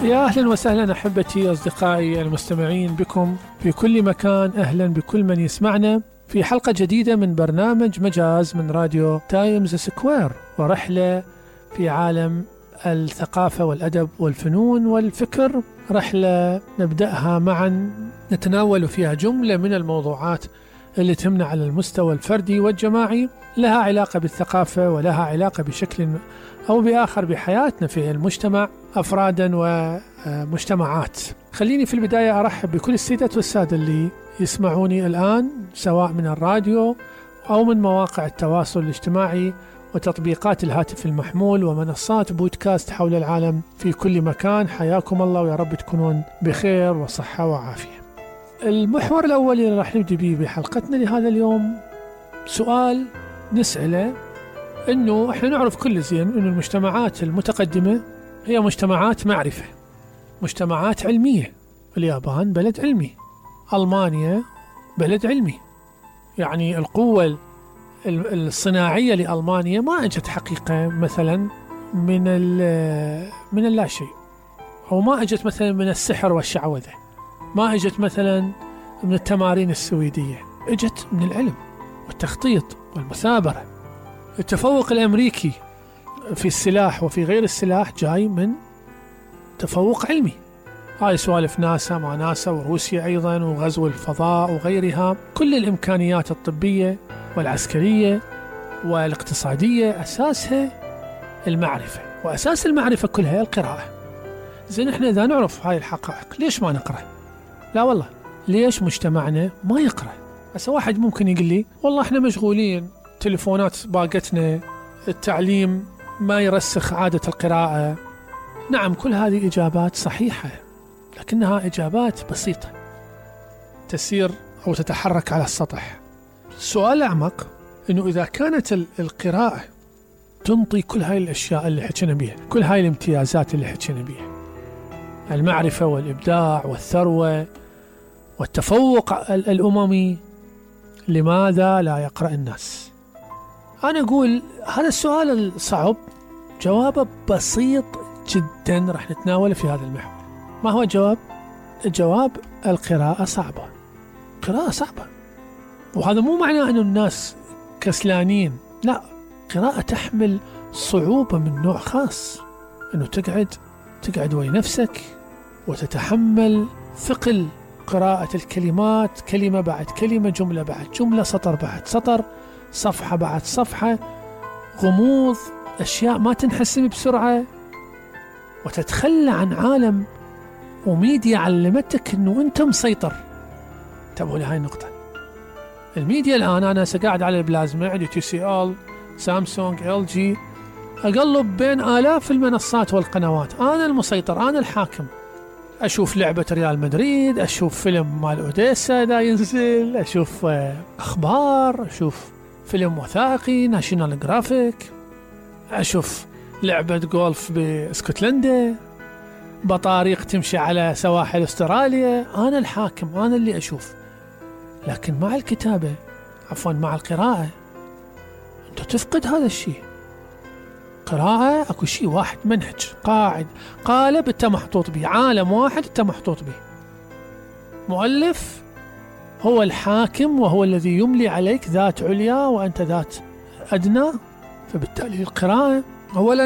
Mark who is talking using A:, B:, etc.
A: يا أهلا وسهلا أحبتي أصدقائي المستمعين بكم في كل مكان. أهلا بكل من يسمعنا في حلقة جديدة من برنامج مجاز من راديو تايمز سكوير، ورحلة في عالم الثقافة والأدب والفنون والفكر. رحلة نبدأها معا نتناول فيها جملة من الموضوعات اللي تهمنا على المستوى الفردي والجماعي، لها علاقة بالثقافة ولها علاقة بشكل أو بآخر بحياتنا في المجتمع أفرادا ومجتمعات. خليني في البداية أرحب بكل السيدات والسادة اللي يسمعوني الآن سواء من الراديو أو من مواقع التواصل الاجتماعي وتطبيقات الهاتف المحمول ومنصات بودكاست حول العالم في كل مكان. حياكم الله ويا رب تكونون بخير وصحة وعافية. المحور الأول اللي راح نبدأ به بحلقتنا لهذا اليوم سؤال نسأله، إنه إحنا نعرف كل زين إنه المجتمعات المتقدمة هي مجتمعات معرفة، مجتمعات علمية. اليابان بلد علمي، ألمانيا بلد علمي، يعني القوة الصناعية لألمانيا ما أجت حقيقة مثلا من اللاشيء، أو ما أجت مثلا من السحر والشعوذة، ما أجت مثلا من التمارين السويدية، أجت من العلم والتخطيط والمثابرة. التفوق الأمريكي في السلاح وفي غير السلاح جاي من تفوق علمي. هاي سوالف ناسا ما ناسا وروسيا أيضا وغزو الفضاء وغيرها. كل الإمكانيات الطبية والعسكرية والاقتصادية أساسها المعرفة، وأساس المعرفة كلها القراءة. زين إحنا إذا نعرف هاي الحقائق ليش ما نقرأ؟ لا والله، ليش مجتمعنا ما يقرأ؟ هسه واحد ممكن يقول لي والله إحنا مشغولين، تليفونات باقتنا، التعليم ما يرسخ عادة القراءة. نعم، كل هذه إجابات صحيحة، لكنها إجابات بسيطة تسير أو تتحرك على السطح. السؤال الأعمق إنه إذا كانت القراءة تنطي كل هاي الأشياء اللي حكينا بيها، كل هاي الامتيازات اللي حكينا بيها، المعرفة والإبداع والثروة والتفوق الأممي، لماذا لا يقرأ الناس؟ أنا أقول هذا السؤال الصعب جوابه بسيط جدا، راح نتناوله في هذا المحور. ما هو الجواب؟ الجواب القراءة صعبة. قراءة صعبة، وهذا مو معناه أن الناس كسلانين، لا، قراءة تحمل صعوبة من نوع خاص، أنه تقعد ويا نفسك وتتحمل ثقل قراءة الكلمات، كلمة بعد كلمة، جملة بعد جملة، سطر بعد سطر، صفحة بعد صفحة، غموض، أشياء ما تنحسم بسرعة، وتتخلى عن عالم وميديا علمتك أنه أنت مسيطر. انتبهوا لهاي النقطة. الميديا الآن أنا سقاعد على البلازما، عندي TCL، سامسونج، LG، أقلب بين آلاف المنصات والقنوات، أنا المسيطر، أنا الحاكم. أشوف لعبة ريال مدريد، أشوف فيلم مال أوديسا دا ينزل، أشوف أخبار، أشوف فيلم وثائقي ناشيونال جرافيك، أشوف لعبة جولف باسكتلندا، بطاريق تمشي على سواحل استراليا. أنا الحاكم، أنا اللي أشوف. لكن مع الكتابة، عفوا مع القراءة، أنت تفقد هذا الشيء. قراءة أكو شيء واحد، منهج، قالب أنت محطوط به، عالم واحد أنت محطوط به، مؤلف هو الحاكم وهو الذي يملي عليك ذات عليا وأنت ذات أدنى. فبالتالي القراءة أولا